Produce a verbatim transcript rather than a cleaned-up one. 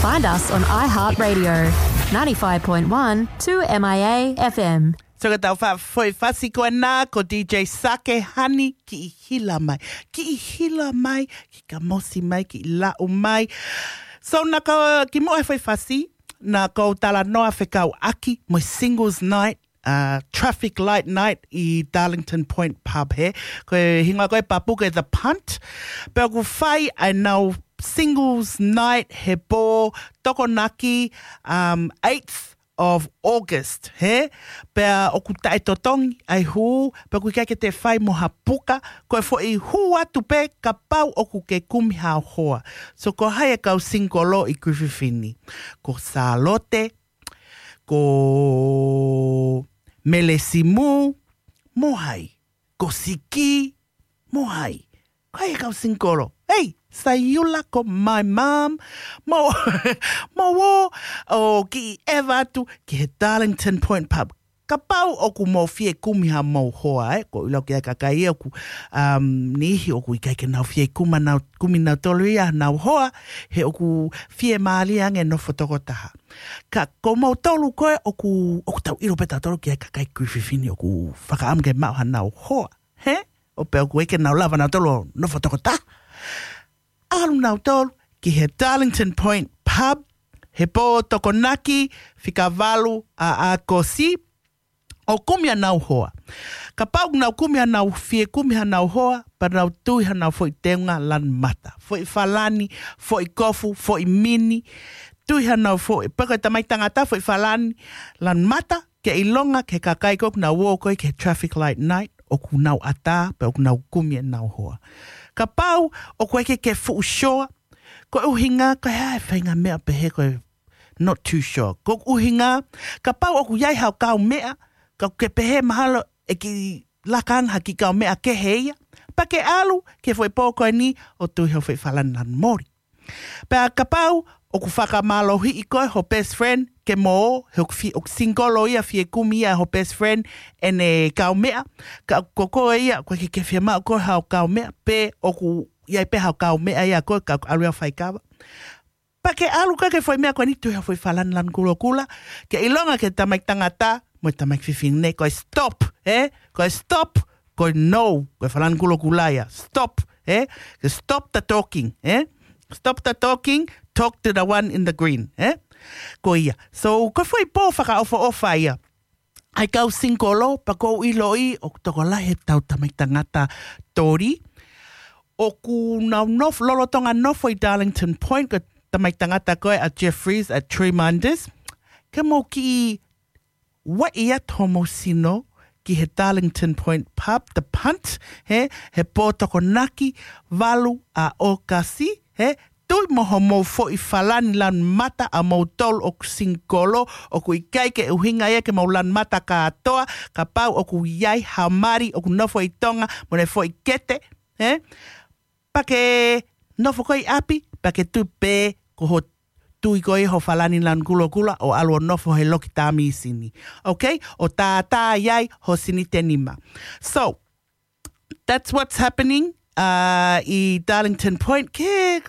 Find us on iHeartRadio, ninety-five point one two M I A F M. So ka tau fa-, foʻi fasi ko ena ko D J Sake Hani, Kiʻi Hila Mai. Kiʻi hila mai, kiʻi kamosi mai, kiʻi laʻu mai. So naʻa ko kimuʻa he foʻi fasi, naʻa ko talanoa fekauʻaki mo e singles night, uh, traffic light night ʻi Darlington Point Pub he. Ko e hingoa ko e papu ko e The Punt. Pea ʻoku fai ʻenau singles night he pō Tokonaki, um, eighth of August, he? Pea ʻoku taʻetotongi ʻa e hū, pea ʻoku ʻikai ke toe fai mo ha puka, ko e foʻi hū atu pē kapau ʻoku ke kumi ha hoa. So ko hai e kau singolo ʻi Griffith ni? Ko Sālote, ko Melesimu, mo hai? Ko Siki, mo hai? Ko hai e kau singolo? Hei, Sayula, ko my mom, mo, mo ō, ʻo kiʻi ʻeva atu ki he Darlington Point Pub. Kapau ʻoku mou fie kumi hamou hoa, ē, ko ʻilau ki ai kakai ʻoku, um, niʻihi ʻoku ʻikai ke nau fie kuma nau, kumi nautolu ia nau hoa, he ʻoku fiemālie ange nofo tokotaha. Ka ko moutolu ko ē ʻoku, ʻoku tau ʻilo pē tautolu ki ai kakai Griffith ni ʻoku fakaʻamu ke maʻu hanau hoa, he? ʻO pea ʻoku ʻikai ke nau lava nautolu ʻo nofo tokotaha. ʻAlu nautolu ki he Darlington Point Pub, he pō Tokonaki, fika valu ʻa ʻAokosi, ʻo kumi hanau hoa. Kapau ʻoku nau kumi hanau, fie kumi hanau hoa, pea nau tui hanau foʻi teunga lanu mata. Foʻi falani, foʻi kofu, foʻi mini, tui hanau foʻi, pea ko e tamaiki tangata foʻi falani lanu mata, ke ʻilonga ki he kakai ko ē ʻoku nau ō ko ē ki he traffic light night, ʻoku nau ʻatā, pea ʻoku nau kumi ʻenau hoa. Kapau ʻoku ʻikai ke fuʻu sure, ko e ʻuhinga, ko e hā e faʻahinga meʻa pehē ko e not too sure. Ko e ʻuhinga, kapau ʻoku ʻi ai hao kaumeʻa, ka ke pehē mahalo ʻe kiʻi laka ange ha kiʻi kaumeʻa kehe ia, pea ke ʻalu ki he foʻi pō ko eni ʻo tui hao foʻi falani lanu moli. Pea kapau ʻoku fakamālohiʻi koe ho best friend ke mo ō, he ʻoku fi-, ʻoku singolo ia, fie kumi ia ho best friend ʻene kaumeʻa, ka ko koe ia, ʻoku ʻikai ke fiemaʻu koe hao kaumeʻa, pe ʻoku ʻi ai pē hao kaumeʻa ia koe, ka ʻalu ia ʻo faikava. Pea ke ʻalu koe ki he foʻi meʻa ko eni, tui hao foʻi falani lanu kulokula, ke ʻilonga ki he tamaiki tangata mo e tamaiki fefine, ko e stop, ē? Ko e stop, ko e no, ko e falani kulokula ia. Stop, ē? Ke stop the talking, ē? Stop the talking, talk to the one in the green, ē? Ko ia. So, ko e foʻi pō fakaʻofoʻofa ia ʻa e kau singolo, pea ʻoku ou ʻiloʻi ʻoku tokolahi ʻetau tamaiki tangata toli ʻoku nau nofo, lolotonga nofo ʻi Darlington Point, ko e tamaiki tangata ko ē ʻa Jeffries, ʻa Tremonders. Ke mou kiʻi vaʻi atu homou sino ki he Darlington Point Pub, The Punt, he, he pō Tokonaki, valu ʻa ʻAokosi, he, tui mo homou foʻi falani lanu mata ʻamoutolu ʻoku singolo, ʻoku ʻikai ke ʻuhinga ia ke mou lanu mata kātoa, kapau ʻoku ʻi ai ha mali ʻoku nofo ʻi Tonga mo ʻene foʻi kete, he? Pea ke nofo koe ʻi ʻapi, pea ke tui pē ko ho tui ko ē ho falani lanu kulokula ʻo ʻalu ʻo nofo he loki tāmīsini. Okay? ʻO tātā ai ho sinitenima. So, that's what's happening, uh, ʻi Darlington Point. Ke